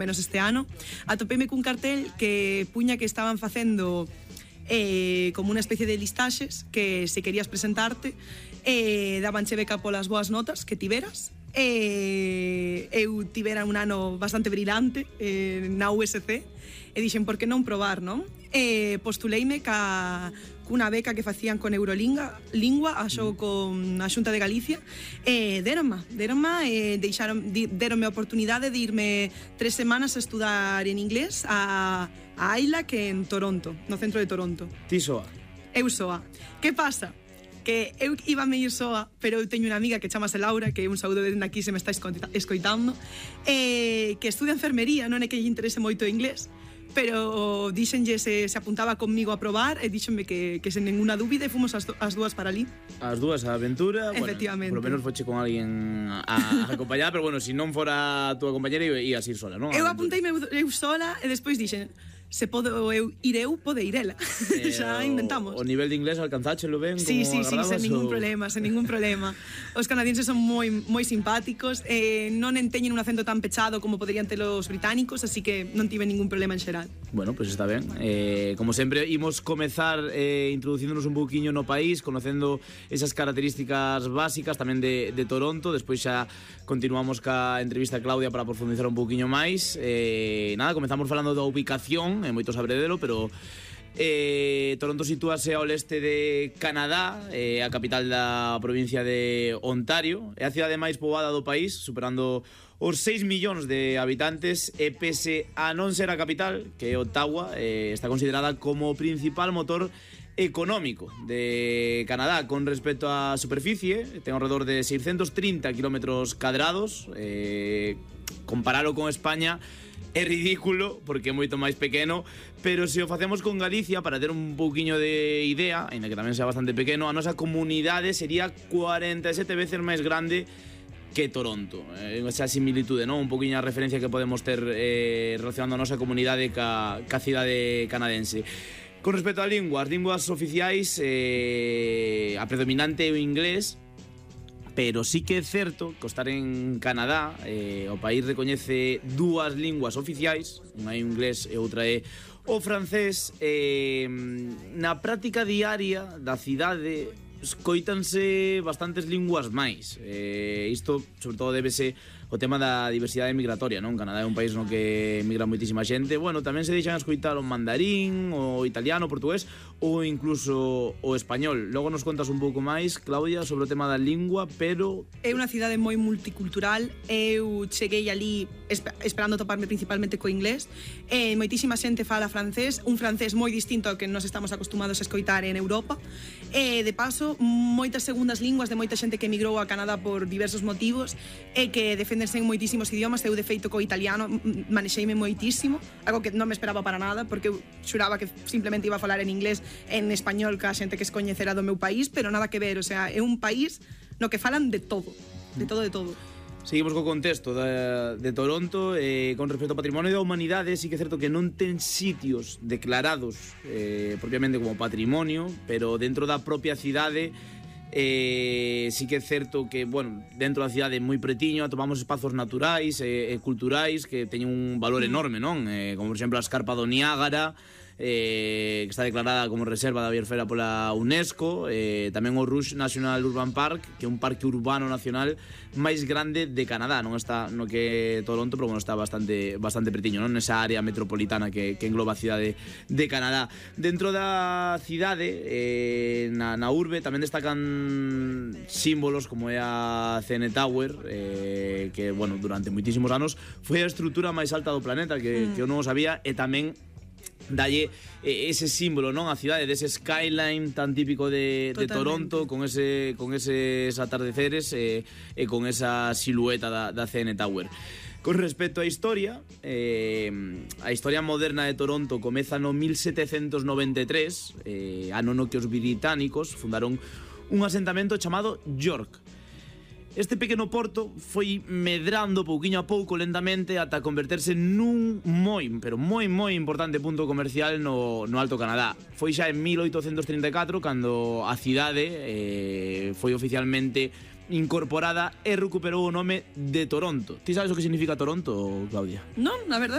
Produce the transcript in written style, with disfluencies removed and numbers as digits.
menos este ano, atopeime cun cartel que puña que estaban facendo como unha especie de listaxes que se querías presentarte dabanche beca polas boas notas que tiveras. Eu tivera un ano bastante brilante na USC e dixen, por que non probar, non? Postuleime cunha beca que facían con Eurolingua axo con a Xunta de Galicia deronme a oportunidade de irme 3 semanas a estudar en inglés a Aila, que en Toronto, no centro de Toronto. Ti soa? Eu soa. Que pasa? Que eu iba a ir soa, pero eu teño unha amiga que chamase Laura, que un saúdo dende aquí se me está escoitando, que estudia enfermería, non é que lle interese moito o inglés, pero díxenlle se apuntaba conmigo a probar e díxenme que sen ninguna dúbida e fomos as dúas para ali. As dúas a aventura. Efectivamente. Bueno, por lo menos foche con alguén a acompañar, pero bueno, se non fora a túa compañera ias ir sola, non? Eu apunteime eu sola e despois dixen, se podo ir eu, pode ir ela. Xa inventamos. O nivel de inglés alcanzáchelo ben? Sí, sen ningún problema. Os canadienses son moi simpáticos, non teñen un acento tan pechado como poderían ter os británicos, así que non tive ningún problema en xeral. Bueno, pues está ben. Como sempre, imos comezar introducíndonos un pouquiño no país, conocendo esas características básicas tamén de Toronto. Despois xa continuamos ca entrevista a Claudia para profundizar un pouquiño máis. Nada, comezamos falando da ubicación, moito sabredelo, pero Toronto sitúase ao leste de Canadá, a capital da provincia de Ontario. É a cidade máis poboada do país, superando os 6 millóns de habitantes, e pese a non ser a capital, que é Ottawa, está considerada como o principal motor económico de Canadá con respecto á superficie. Ten alrededor de 630 kilómetros cadrados. Comparalo con España é ridículo porque é moito máis pequeno, pero se o facemos con Galicia, para ter un pouquiño de idea, aínda que tamén sea bastante pequeno, a nosa comunidade sería 47 veces máis grande que Toronto. Esa similitude, non? Un pouquiño a referencia que podemos ter relacionando a nosa comunidade ca cidade canadense. Con respecto a linguas, as linguas oficiais, a predominante é o inglés, pero sí que é certo que ao estar en Canadá o país recoñece dúas linguas oficiais, unha é o inglés e outra é o francés. Na práctica diaria da cidade escoítanse bastantes linguas máis. Isto, sobre todo, débese o tema da diversidade migratoria, non? Canadá é un país no que migra moitísima xente. Bueno, tamén se deixan escoitar o mandarín, o italiano, o portugués ou incluso o español. Logo nos contas un pouco máis, Claudia, sobre o tema da lingua, pero... É unha cidade moi multicultural. Eu cheguei ali esperando toparme principalmente co inglés. Moitísima xente fala francés, un francés moi distinto ao que nos estamos acostumados a escoitar en Europa. De paso, moitas segundas linguas de moita xente que emigrou a Canadá por diversos motivos e que defendense en moitísimos idiomas. Eu, de feito, co italiano manexeime moitísimo, algo que non me esperaba para nada, porque eu xuraba que simplemente iba a falar en inglés, en español, ca xente que es coñecera do meu país, pero nada que ver. O sea, é un país no que falan de todo, de todo, de todo. Seguimos co contexto de Toronto. Con respecto ao patrimonio da humanidade, sí que é certo que non ten sitios declarados propiamente como patrimonio, pero dentro da propia cidade sí que é certo que, bueno, dentro da cidade moi pretiño atopamos espazos naturais e culturais que teñen un valor enorme, non? Como por exemplo a Escarpa do Niágara, que está declarada como reserva da biosfera pola UNESCO, tamén o Rouge National Urban Park, que é un parque urbano nacional máis grande de Canadá. Non está no que é Toronto, pero bueno, está bastante pretiño, non? Nesa área metropolitana que engloba a cidade de Canadá. Dentro da cidade, na urbe, tamén destacan símbolos como é a CN Tower, que, bueno, durante moitísimos anos foi a estrutura máis alta do planeta, que eu non o sabía, e tamén dalle ese símbolo, non? A cidade dese skyline tan típico de Toronto, con eses atardeceres e con esa silueta da CN Tower. Con respecto á historia, a historia moderna de Toronto comeza no 1793, ano no que os británicos fundaron un asentamento chamado York. Este pequeno porto foi medrando pouquiño a pouco, lentamente, ata converterse nun pero moi importante punto comercial no Alto Canadá. Foi xa en 1834 cando a cidade foi oficialmente incorporada e recuperou o nome de Toronto. Ti sabes o que significa Toronto, Claudia? Non, na verdade